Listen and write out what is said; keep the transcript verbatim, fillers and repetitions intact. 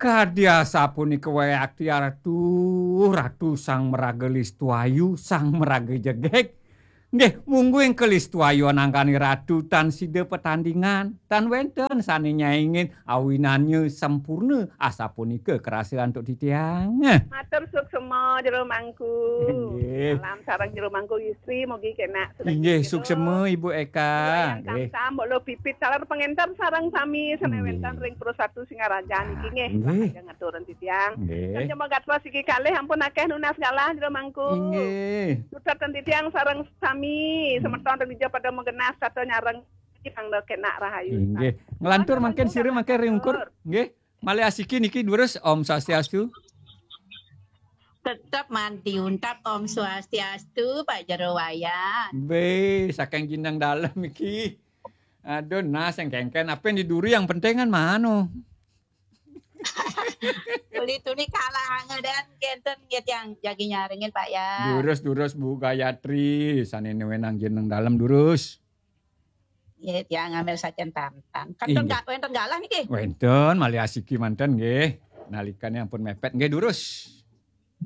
Kadya sapunika wae akti Ratu, Ratu sang maraga Listuayu, sang maraga jegeg. Nggih, mungguing ka Listuayu anangkani Ratu tan sida patandingan, tan wenten sane nyaingin awinannya sampurna, asapunika kerasa antuk titiang. Matur suksema Jero Mangku. Nggih. Salam sareng Jero Mangku istri, mugi kenak sedaya Inggih, Jero. suksema Ibu Eka. Yang Nggih. Samsam, Mbok Lo Pipit, taler pengenter sareng sami sane Nggih. wenten ring Pro Satu Singaraja niki nggih. Nggih. Lajeng ngaturang titiang. Nggih. Sampun gatwa siki kalih ampun akeh nunas galah Jero Mangku. Inggih. Sutratan titiang sareng sami semeton ring dija pada magenah sarta nyareng mangda kenak rahayu. Inggih. Nglantur mangkin sira mangkin ring ungkur. Nggih. Malih asiki niki durus, Om Swastiastu. Tetep manti untat, Om Swastiastu, Pak Jero Wayan. Be, saking jineng dalem iki. Aduh, nah sing kengken apa yang di duri yang penting kan mano. Tuli-tuli kalah angedan kenten nggih tiang jagi nyarengin, Pak, ya. Durus, durus, Bu Gayatri, sane wenang jineng dalem durus. Nggih, tiang ngambil sajen tantang. Inggih. Kadang wenten galah niki. Wenten, malih asiki manten nggih. Nalikane ampun mepet nggih durus.